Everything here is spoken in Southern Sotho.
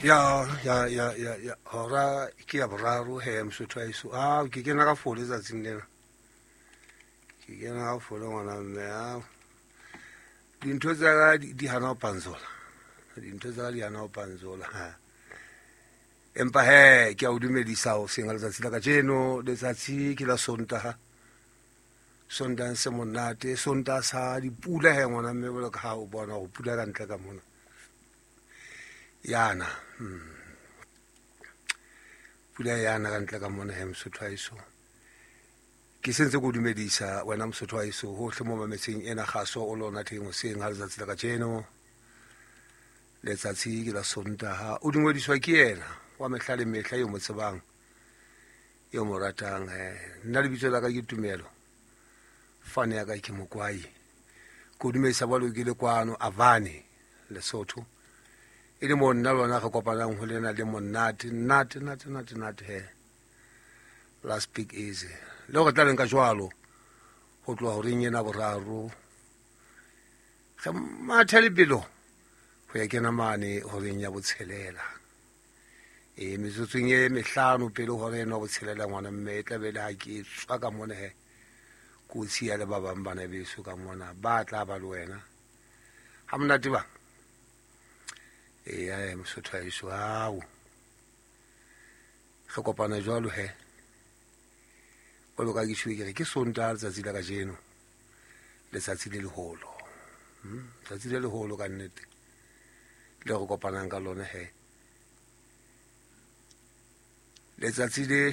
Ya ya ya ya ya hora ke ya boraro he mosotho wa heso. Ah, ke kena ka fole tsatsing lena. Ke kena ka fole ngwana mme. Ah. Dintho tsa ka di hana ho pantsola. Dintho tsa ka di hana ho pantsola. Ha. Empa he ke a o dumedisa ho seng letsatsi la kajeno, letsatsi ke la Sontaha. Sontaha se monate, Sontaha sa dipula he ngwana mme jwalo ka ha o bona hore pula ka ntle ka mona. Yana. Pula yana ka ntle ka mona he mosotho wa heso. Ke sentse ke o dumedisa wena mosotho wa heso hohle mo mametseng ena kgaso o lona teng hoseng ha letsatsi la kajeno. Letsatsi ke la Sontaha. O dumediswa ke yena wa mehla le mehla eo mo tsebang, eo mo ratang. Nna lebitso la ka ke Tumelo, fane ya ka ke Mokwai. Ke o dumedisa balo ke le kwano Avane, Lesotho. E le mo nna lona re kopanang ho lena le monate, nate, nate, nate, nate he. Last speak easy. Le hore tla leng ka jwalo ho tloha horeng ena boraro. Re mathe lebelo ho ya kena mane horeng ya botshelela. E metsotsong e mehlano pele hora eno ya botshelela ngwana mme e tla be le ha ke tswa ka mona he. Kotsi ya le ba bang bana beso ka mona ba tla ba le wena. Ha monate ba. Eya mosotho wa heso ao. Re kopana jwalo he. Jwalo ka ke tjho ke re ke Sontaha letsatsi la kajeno. Letsatsi le leholo. Letsatsi le leholo ka nnete. Le re kopanang ka lona he. Letsatsi le